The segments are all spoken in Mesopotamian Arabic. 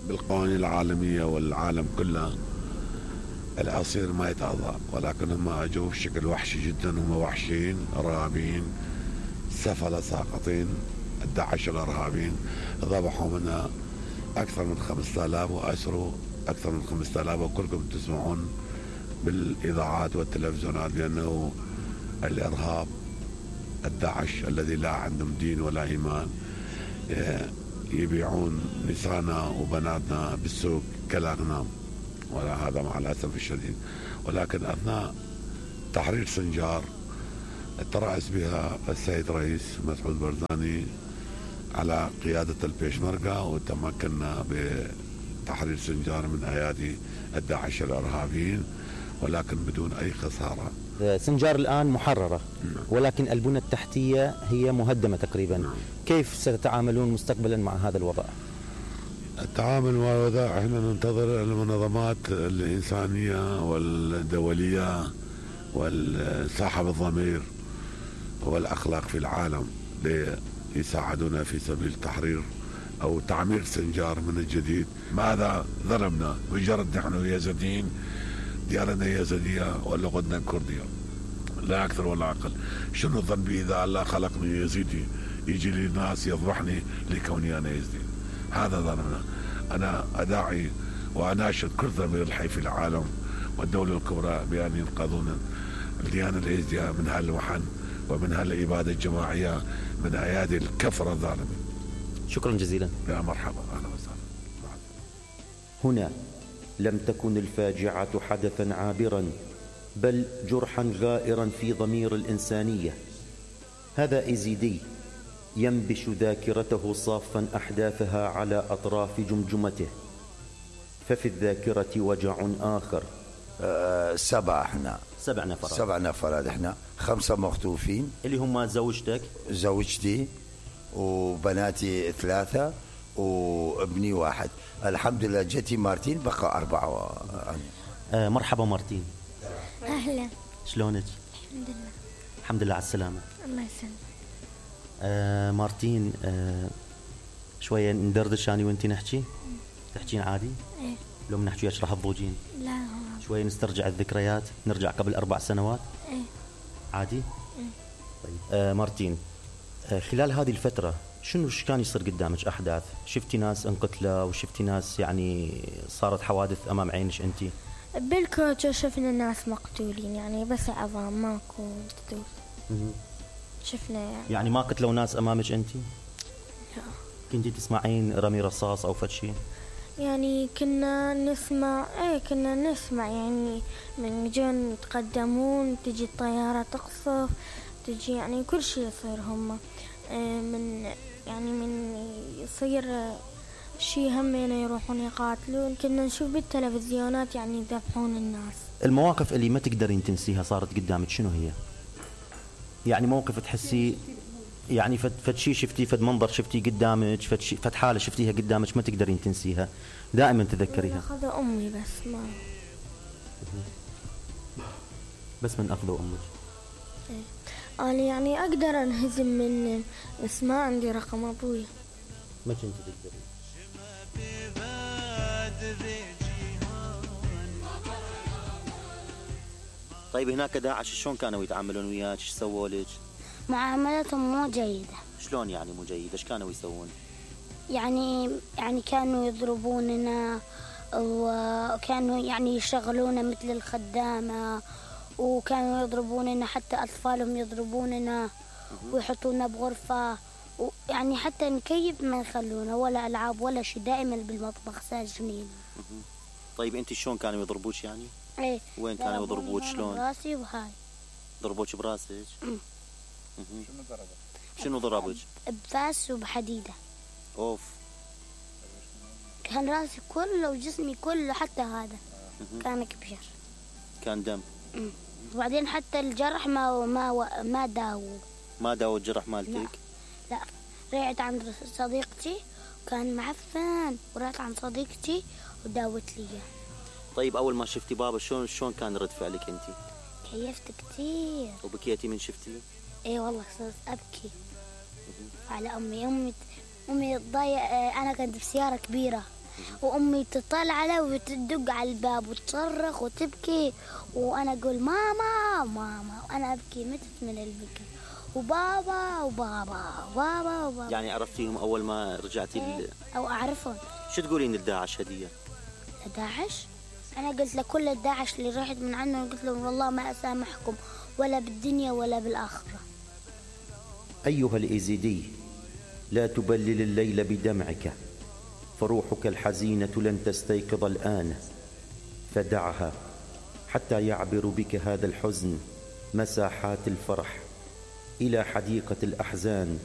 بالقوانين العالمية والعالم كله العصير ما يتعاطى، ولكن هم اجوا بشكل وحشي جدا. هم وحشيين ارهابيين سفلة ساقطين. الداعش الارهابيين ذبحوا منها اكثر من 5000 واسروا اكثر من 5000، وكلكم تسمعون بالاذاعات والتلفزيونات بانه الارهاب الداعش الذي لا عندهم دين ولا ايمان يبيعون نساءنا وبناتنا بالسوق كالاغنام، ولا هذا مع الاسف الشديد. ولكن اثناء تحرير سنجار ترأس بها السيد رئيس مسعود برداني على قيادة البيشمركة، وتمكنا بتحرير سنجار من ايادي الداعش الارهابيين، ولكن بدون اي خسارة. سنجار الآن محررة، ولكن البنى التحتية هي مهدمة تقريبا. كيف ستتعاملون مستقبلا مع هذا الوضع؟ التعامل مع الوضع احنا ننتظر المنظمات الإنسانية والدولية والصاحب الضمير والأخلاق في العالم ليساعدونا في سبيل تحرير أو تعمير سنجار من الجديد. ماذا ظلمنا؟ مجرد نحن يزيديين، ديانتنا يزيدية ولا غدنا كردية، لا أكثر ولا أقل. شنو ذنبي إذا الله خلقني يزيدي يجي لي ناس يذبحني لكوني أنا يزيدي؟ هذا ظلمنا. أنا أداعي وأناشد كل ضمير الحي في العالم والدولة الكبرى بأن ينقذون الديانة اليزيدية من هالوحن ومن هالإبادة الجماعية من أيادي الكفرة الظالمين. شكرا جزيلا. يا مرحبا، أهلا وسهلا. هنا لم تكن الفاجعة حدثا عابرا، بل جرحا غائرا في ضمير الإنسانية. هذا إيزيدي ينبش ذاكرته صافا أحداثها على أطراف جمجمته، ففي الذاكرة وجع آخر. 7 احنا 7 نفرات. 7 نفرات احنا، 5 مخطوفين اللي هم زوجتك، زوجتي وبناتي 3 وابني 1. الحمد لله جتي مارتين، بقى 4. مرحبا مارتين. أهلا. شلونك؟ الحمد لله. الحمد لله على السلامة. الله يسلمك. مارتين، شوية ندردش أنا وأنتي نحكي؟ تحكين عادي؟ إيه. لو بنحكي وياك راح تضوجين؟ لا هو. شوية نسترجع الذكريات، نرجع قبل 4 سنوات؟ إيه. عادي؟ إيه. طيب مارتين، خلال هذه الفترة شنو كان يصير قدامك أحداث؟ شفتي ناس انقتلوا وشفتي ناس يعني صارت حوادث أمام عينك أنتي؟ بالكوتشو شفنا ناس مقتولين، يعني بس عظام ماكو قتول. شفنا يعني ما قتلوا ناس أمامك أنتي؟ لا. كنتي تسمعين رمي رصاص أو فد شيء؟ يعني كنا نسمع يعني من جون يتقدمون، تجي الطيارة تقصف، تجي يعني كل شيء يصير. هم من يصير شيء همين يروحون يقاتلون. كنا نشوف بالتلفزيونات يعني يذبحون الناس. المواقف اللي ما تقدرين تنسيها صارت قدامك شنو هي؟ يعني موقف تحسي يعني فد شيء شفتي، فد منظر شفتي قدامك، فد حالة شفتيها قدامك ما تقدرين تنسيها، دائما تذكريها. أخذ أمي بس من أخذوا أمك. أنا يعني أقدر أنهزم من، بس ما عندي رقم أبوي. ما كنت تقدرين. طيب هناك داعش شلون كانوا يتعاملون وياك؟ ايش سووا لك؟ معاملتهم مو جيدة. شلون يعني مو جيدة؟ ايش كانوا يسوون؟ يعني كانوا يضربوننا، وكانوا يعني يشغلونا مثل الخدامة، وكانوا يضربوننا، حتى أطفالهم يضربوننا ويحطونا بغرفة، ويعني حتى نكيف ما يخلونا ولا ألعاب ولا شيء، دائما بالمطبخ ساجنين. طيب انت شلون كانوا يضربوك يعني؟ ايه. وين كانوا يضربوك شلون؟ براسي وهاي. ضربوك براسك؟ شنو ضربك؟ بفاس وبحديدة. اوف. كان راسي كله وجسمي كله، حتى هذا كان كبير، كان دم. وبعدين حتى الجرح ما داووا الجرح مالتك؟ لا. رجعت عند صديقتي وكان معفن، ورحت عند صديقتي وداوت لي. طيب اول ما شفتي بابا شلون كان رد فعلك انت؟ كيفت كثير. وبكيتي من شفتي؟ اي والله صرت ابكي على امي تضايق. انا كنت بسياره كبيره، وأمي تطلع عليه وتدق على الباب وتصرخ وتبكي، وأنا أقول ماما ماما وأنا أبكي متت من البكي، وبابا وبابا وبابا وبابا. يعني عرفتيهم أول ما رجعتي أو أعرفهم. شو تقولين لداعش هدية؟ لداعش؟ أنا قلت لكل الداعش اللي رحت من عندهم، قلت لهم والله ما أسامحكم ولا بالدنيا ولا بالآخرة. أيها الإيزيدي، لا تبلل الليل بدمعك، فروحك الحزينة لن تستيقظ الآن، فدعها حتى يعبر بك هذا الحزن مساحات الفرح إلى حديقة الأحزان،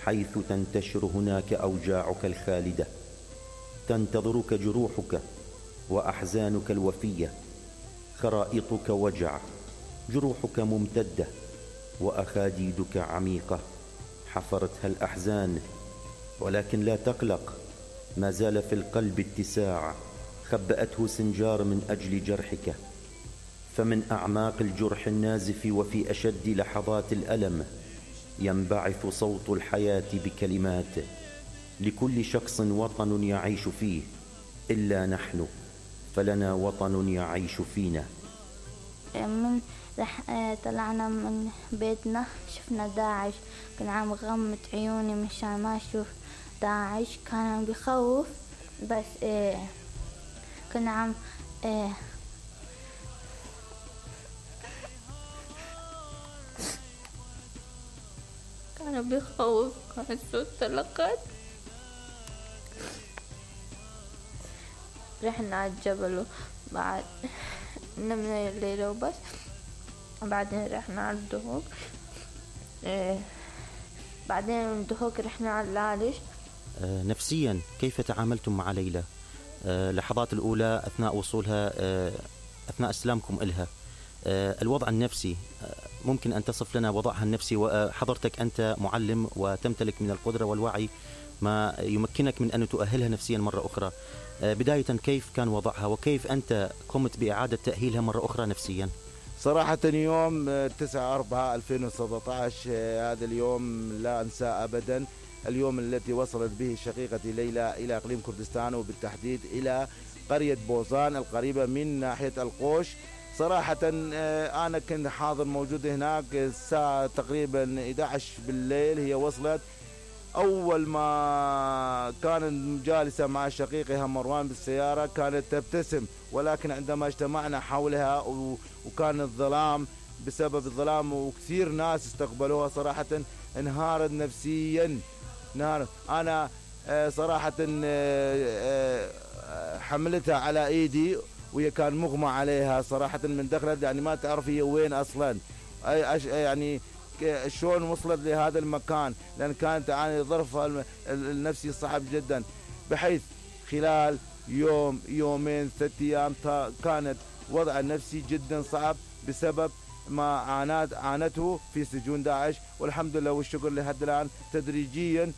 حيث تنتشر هناك أوجاعك الخالدة، تنتظرك جروحك وأحزانك الوفية، خرائطك وجع، جروحك ممتدة وأخاديدك عميقة حفرتها الأحزان، ولكن لا تقلق، ما زال في القلب اتساع خبأته سنجار من أجل جرحك. فمن أعماق الجرح النازف وفي أشد لحظات الألم ينبعث صوت الحياة بكلمات: لكل شخص وطن يعيش فيه، إلا نحن فلنا وطن يعيش فينا. من طلعنا من بيتنا شفنا داعش، كنا عم غمت عيوني مشان ما أشوف داعش، كان عم بيخوف، بس كنا عم كان بيخوف، كان صوت طلقات. رحنا على الجبل وبعد نمنا الليلة وبس، بعدين رحنا على الدهوك، بعدين من الدهوك رحنا على العالج. نفسيا كيف تعاملتم مع ليلى؟ لحظات الأولى أثناء وصولها، أثناء استلامكم إلها، الوضع النفسي، ممكن أن تصف لنا وضعها النفسي؟ وحضرتك أنت معلم وتمتلك من القدرة والوعي ما يمكنك من أن تؤهلها نفسيا مرة أخرى. بداية كيف كان وضعها وكيف أنت قمت بإعادة تأهيلها مرة أخرى نفسيا؟ صراحة يوم 9/4/2017 هذا اليوم لا أنساه أبدا، اليوم التي وصلت به شقيقتي ليلى إلى إقليم كردستان، وبالتحديد إلى قرية بوزان القريبة من ناحية القوش. صراحة أنا كنت حاضر موجود هناك الساعة تقريبا 11 بالليل هي وصلت. أول ما كانت جالسة مع شقيقها مروان بالسيارة كانت تبتسم، ولكن عندما اجتمعنا حولها وكان الظلام، بسبب الظلام وكثير ناس استقبلوها، صراحة انهارت نفسيا. أنا صراحة حملتها على إيدي وهي كان مغمى عليها صراحة من دخلت، يعني ما تعرف هي وين أصلا، يعني شلون وصلت لهذا المكان، لأن كانت تعاني ظرفها النفسي صعب جدا، بحيث خلال يوم يومين 3 أيام كانت وضع نفسي جدا صعب بسبب ما عانته في سجون داعش. والحمد لله والشكر لحد الآن تدريجيا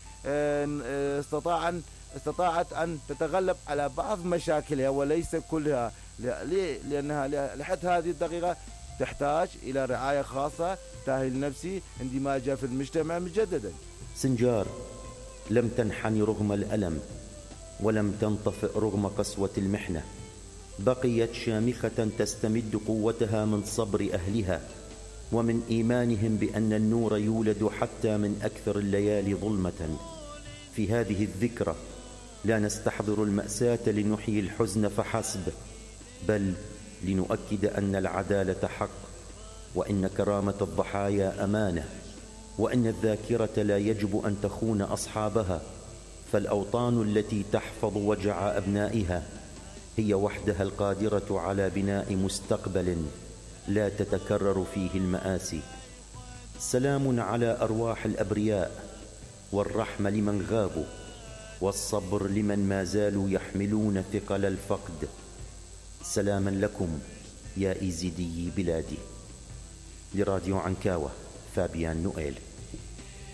استطاعت أن تتغلب على بعض مشاكلها وليس كلها. ليه؟ لأنها لحد هذه الدقيقة تحتاج إلى رعاية خاصة، تأهيل نفسي، اندماجها في المجتمع مجددا. سنجار لم تنحني رغم الألم، ولم تنطفئ رغم قسوة المحنة، بقيت شامخة تستمد قوتها من صبر أهلها ومن إيمانهم بأن النور يولد حتى من أكثر الليالي ظلمة. في هذه الذكرى لا نستحضر المأساة لنحيي الحزن فحسب، بل لنؤكد أن العدالة حق، وإن كرامة الضحايا أمانة، وأن الذاكرة لا يجب أن تخون أصحابها، فالأوطان التي تحفظ وجع أبنائها هي وحدها القادرة على بناء مستقبل لا تتكرر فيه المآسي. سلام على أرواح الأبرياء، والرحمة لمن غابوا، والصبر لمن ما زالوا يحملون ثقل الفقد. سلاما لكم يا إيزيدي بلادي. لراديو عنكاوة، فابيان نوئيل.